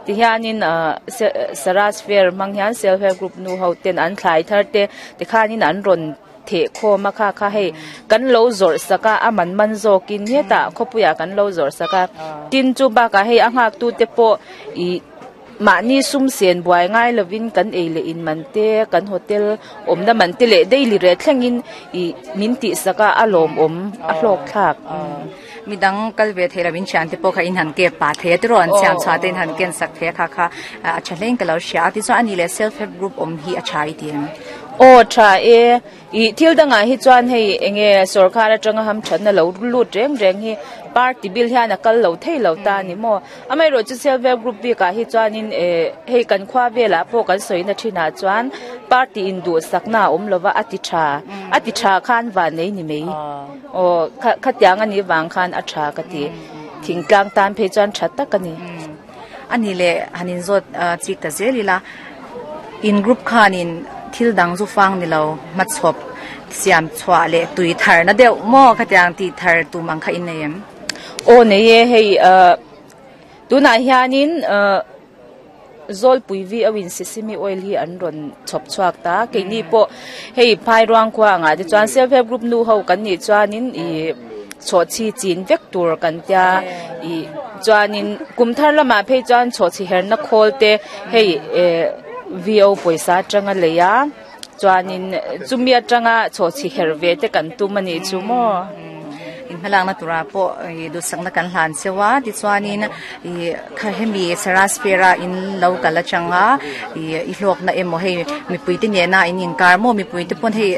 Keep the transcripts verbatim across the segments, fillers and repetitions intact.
Ti hianin Saras Fair hmang hian self help group nu ho ten an thlai thar te tikhanin an rawn theh khawm a kha kha hei kan lo zawrh sak a a man man zawkin hetah khawpuiah kan lo zawrh sak a tin chu bakah hei a nghak tu te pawh ih mahni sum sen buai ngai lovin kan ei leh in man te kan hotel awmna man te leh daily reh thlengin ih min tih sak a a lawm awm a hlawk thlak. Midang kal ve thei lovin thian te pawh kha in han ke pa thei a tiraw an siam chhuah te in han ken sak thei a kha kha a tha hlein ka lo hria a tichuan ani leh self help group awm hi a tha i ti em? Aw tha e ih thil dangah hi chuan hei enge sawrkar atanga ham thatna lo lut reng reng hi party bill hian a kal lo thei lo ta ani maw amaherawh chu self help group bikah hi chuanin eh hei kan khua velah pawh kan sawina thinah chuan party in duh sakna a awm lova a ti tha a ti tha khan van nei ni mai aw kha khatiang ani wang khan a tha ka ti thingtlang tan phei chuan tha tak ani. Ani le hanin zawt chik ta zelila in group khanin thil dang zu fang ni lo machhop siam chhuah le tui thar na deuh maw khatiang ti thar tum ang kha in nei em? Aw nei e hei tunah hianin zawlpui vi awin sesame oil hi an rawn chhawp chhuak ta keini pawh hei phai ruang khua angah te chuan self help group nu ho kan nih chuanin ih chhawh chi chin vek tur kan tia ih chuanin kum thar lamah phei chuan chhawh chi herna khawl te hei eh V O pawisa atanga lei a chuanin chumi atanga chhawh chi her ve te kan tum ani chu maw. In hmalak na tura pawh duhsakna kan hlan chewa tichuanin ih kha hemi Saras Fair-a in lo kal atanga ih i hlawk na emaw hei mipui te nena in inkar maw mipui te pawn hei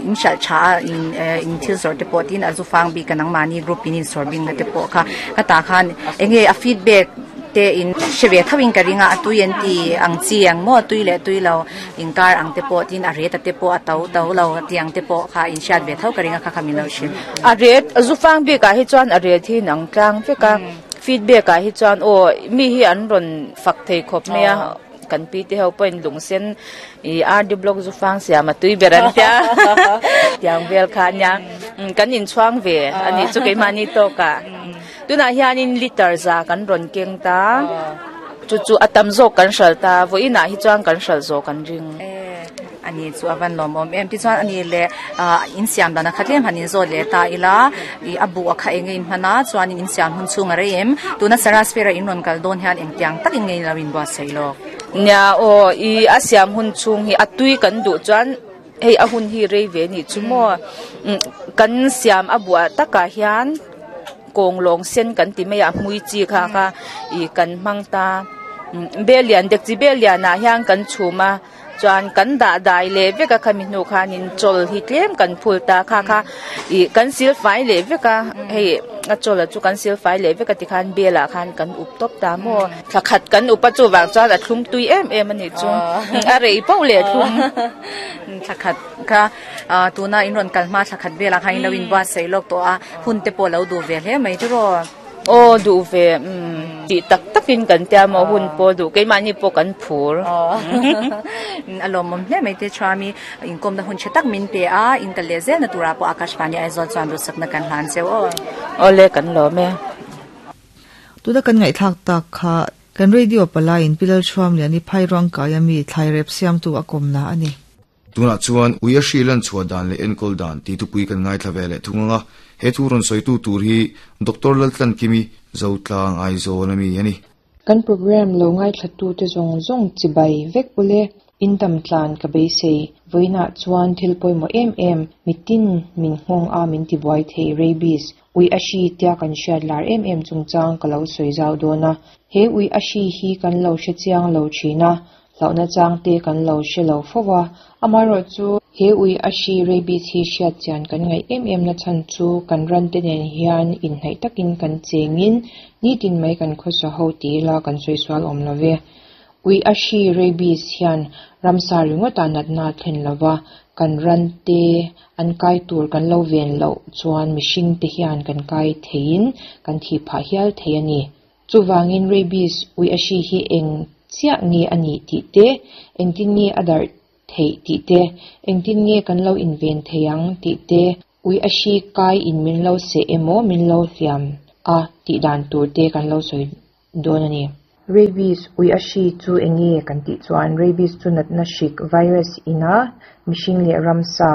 in hralh tha a in in thil zawrh te pawh tin a zu fang bik a nangmahni group in in sawr bing na te pawh kha ka tah khan enge a feedback te in hre ve thawin ka ringa a tui an ti ang chi ang maw tui leh tui lo inkar ang te pawh tin a ret a te pawh a to to lo tiang te pawh kha in hriat ve tho ka ringa kha kha min lo hrilh. A ret zu fang bikah hi chuan a ret hi nang tlang vek a feedback ah hi chuan aw mi hi an rawn fak thei khawp mai a kan pi te ho pawhin lungsen ih R D block zu fang siam a tui ber an tia tiang vel kha ania kan inchhuang ve ani chu keimahni tawkah tunah hianin liter za kan rawn keng ta chu chu a tam zawk kan hral ta vawiinah hi chuan kan hral zawk kan ring. Ani chu avan lawm awm em tichuan ani le in siam dan a khat lem han in zawt leh ta ila ih a bu a kha enge in hman a chuanin in siam hun chhung a rei em tuna Saras Fair-a in rawn kal dawn hian engtiang takin nge lo in buatsaih lawk? Nia aw ih a siam hun chhung hi a tui kan duh chuan hei a hun hi rei ve ni chu maw kan siam a buah takah hian kawng lawng sen kan ti mai a hmui chi kha kha ih kan hmang ta bel lian dek chi bel lianah hian kan chhum a chuan kan dah dai leh vek a khami hnu khanin chawl hi tlem kan phul ta kha kha ih kan sil fai leh vek a hei a chawl a chu kan sil fai leh vek a tikhan belah khan kan up tawp ta maw thla khat kan up a chu wang chuan a thlum tui em em ani chu a rei pauh leh thlum. Thla khat kha tuna in rawn kal hma thla khat velah khan in lo in buatsaih lawk tawh a hun te pawh lo duh ve hle mai tiraw? Aw duh ve tih tak takin kan tia maw hun pawh duh keimahni pawh kan phur. A lawm awm hle mai te chuami inkawmna hun tha tak min pe a in kal leh zel na turah pawh Akashvani Aizawl chuan duhsakna kan hlan cheu aw. Aw le kan lawm e. Tuna kan ngaihthlak tak kha kan radio palai in pilal thuam lian i phai ruang kai ami thlai rep siam tu a kawmna ani. Tunah chuan ui a hri lan chhuah dan leh enkawl dan ti thupui kan ngaithla ve leh thung anga he thu rawn sawi tu tur hi Doctor Laltlan Kimi Zotlang Aizawl ami ani. Kan program lo ngaithla tu te zawng zawng chibai vek ule in dam tlan ka beisei vawiinah chuan thil pawimawh em em mitin min nghawng a min ti buai thei rabies ui a hri tia kan hriat lar em em chungchang ka lo sawi zau dawn a he ui a hri hi kan lo hre chiang lo thin a hlauhna chang te kan lo hre lo fo a amaherawh chu he ui a hri rabies hi hriat chian kan ngaih em em na chhan chu kan ran te nen hian inhnaih takin kan chengin nitin mai kan khawsa ho ti ila kan sawi sual awm love ui a hri rabies hian ramsa ringawt a natna thlen lova kan ran te an kai tur kan lo ven loh chuan mihring te hian kan kai theiin kan thi phah hial thei ani chuwangin rabies ui a hri hi eng chiah nge ani tih te engtin nge a darh thei tih te engtin nge kan lo inven thei ang tih te ui a hri kai in min lo se emaw min lo hliam a tih dan tur te kan lo sawi dawn ani. Rabies ui a hri chu enge kan tih chuan rabies chu natna hrik virus ina mihring leh ramsa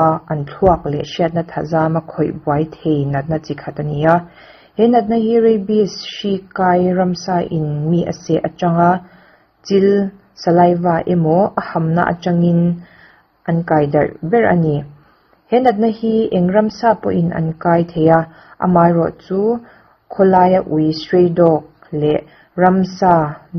a an thluak leh hriatna thazama khawih buai thei natna chi khat ani a. He natna hi rabies hri kai ramsa in mi a seh atanga chil saliva emaw a hamna atangin an kai darh ber ani. He natna hi eng ramsa pawhin an kai thei a, amaherawh chu khawlaia ui stray dog leh ramsa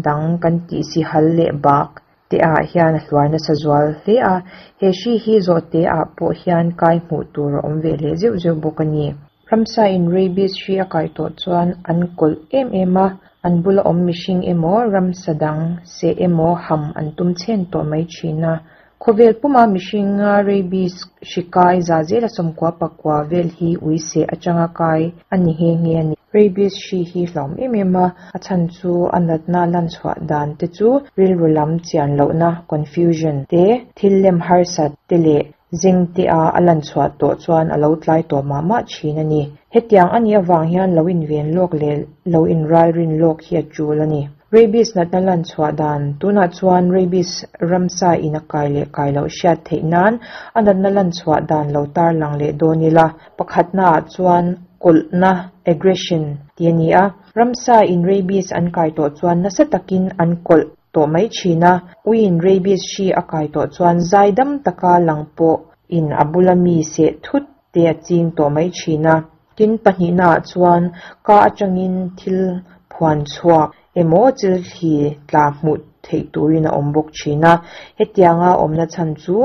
dang kan tih si hal leh bak te ah hian a hluar nasa zual hle a. He hri hi zawh te ah pawh hian kai hmuh tur a awm ve leh zeuh zeuh bawk ani. Ramsa in rabies hri a kai tawh chuan an kawlh em em a, an bula awm mihring emaw ramsa dang seh emaw ham an tum chhen tawh mai thin a. Khawvel puma mihringa rabies hri kai za zela sawmkua pakua vel hi ui seh atanga kai ani nghe nghe ani. Rabies hri hi hlauhawm em em a, a chhan chu a natna lan chhuah dan te chu rilru lam chian lohna confusion te thil lem harsat te leh zeng te a a lan chhuah tawh chuan a lo tlai tawh mah mah thin ani. Hetiang ani awang hian lo inven lawk leh lo inral rin lawk hi a tul ani. Rabies natna lan chhuah dan tunah chuan rabies ramsa in a kai leh kai loh hriat theih nan a natna lan chhuah dan lo tar lang leh dawn ila. Pakhatna ah chuan kawlhna aggression ti ani a. Ramsa in rabies an kai tawh chuan nasa takin an kawlh tawh mai thin a. Uiin rabies hri a kai tawh chuan zai dam taka lang pawh in a bula mi seh thut te a ching tawh mai thin a. Tin pahnihna ah chuan ka atangin thil phuan chhuak emaw chil thli tla hmuh theih turin a awm bawk thin a. Hetianga awmna chhan chu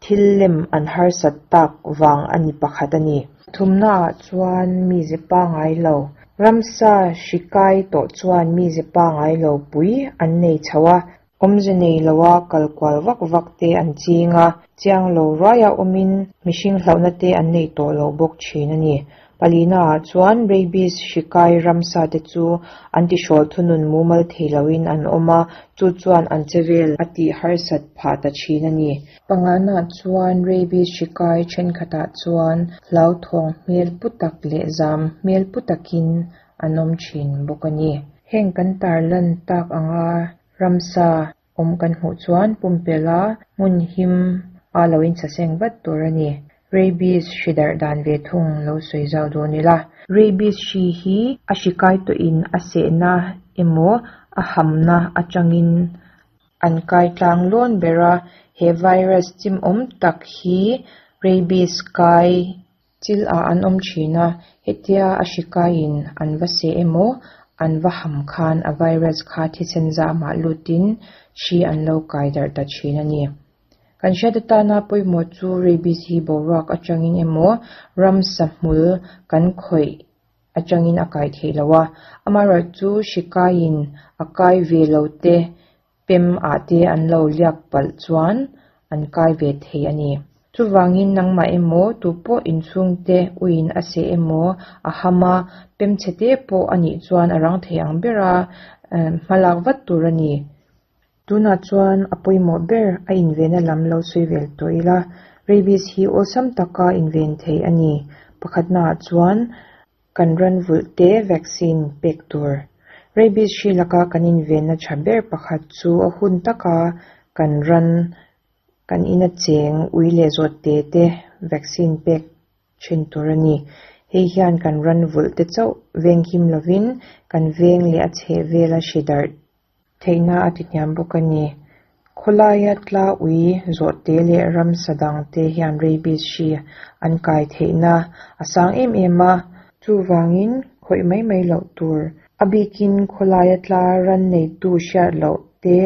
thil lem an harsat tak wang ani pakhat ani. Thumna ah chuan mi zepa ngai lo. Ramsa hri kai tawh chuan mi zepa ngai lo pui an nei chho a. Awmze nei loa kalkual vak vak te an ching a. Chiang lo ruaia awmin mihring hlauhna te an nei tawh lo bawk thin ani. Palina ah chuan rabies hri kai ramsa te chu an ti hrawl thunun mumal thei loin an awm a, chu chuan an chevel a tih harsat phah ta thin ani. Pangana chuan rabies hri kai thenkhatah chuan hlau thawng hmel putak leh zam hmel putakin an awm thin bawk ani. Heng kan tar lan tak anga ramsa awm kan hmuh chuan pumpela hmun him a loin chaseng vat tur ani. Rabies hri darh dan ve thung lo sawi zau dawn ila. Rabies hri hi a hri kai tawhin a sehna emaw a hamna atangin an kai tlang lawn ber a. He virus chim awm tak hi rabies kai chil ah an awm thin a. Hetia a hri kaiin an va seh emaw an va ham khan a virus kha thisen zamah lutin hri an lo kai darh ta thin ani. Kan hriat atana pawimawh chu rabies hi boruak atangin emaw ramsa hmul kan khawih atangin a kai thei lo a. Amaherawh chu hri kaiin a kai ve lo te pem ah te an lo liak palh chuan an kai ve thei ani. Chuwangin nangmah emaw tu pawh inchhung te uiin a seh emaw a hama pem chhe te pawh anih chuan a rang thei ang bera hmalak vat tur ani. Tunah chuan a pawimawh ber a invena lam lo sawi vel tawh ila. Rabies hi awlsam taka inven thei ani. Pakhatna ah chuan kan ran vulh te vaccine pek tur. Rabies hri laka kan invenna tha ber pakhat chu a hun taka kan ran kan ina cheng ui leh zawh te te vaccine pek thin tur ani. Hei hian kan ran vulh te chauh veng him lovin kan veng leh a chheh vela hri darh theihna a ti hniam bawk ani. Khawlaia tla ui zawh te leh ramsa dang te hian rabies hri an kai theihna a sang em em a. Chuwangin khawih mai mai loh tur. A bikin khawlaia tla ran nei tu hriat loh te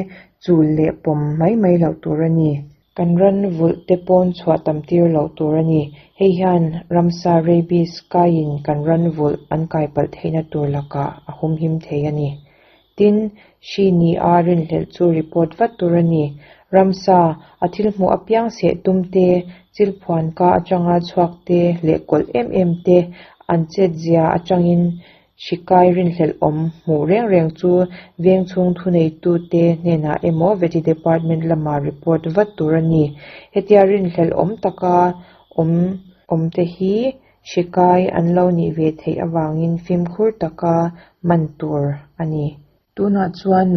chul leh pawm mai mai loh tur ani. Kan ran vulh te pawn chhuah tam tir loh tur ani. Hei hian ramsa rabies kaiin kan ran vulh an kai palh theihna tur lakah a hum him thei ani. Tin hri ni a rinhlelh chu report vat tur ani. Ramsa a thil hmuh apiang seh tum te chil phuan ka atanga chhuak te leh kawlh em em te an chet zia atangin hri kai rinhlelh awm hmuh reng reng chu veng chhung thu nei tu te hnenah emaw veti department lama report vat tur ani. Hetia rinhlelh awm taka awm awm te hi hri kai an lo nih ve theih awangin fimkhur taka man tur ani. Tunah chuan nang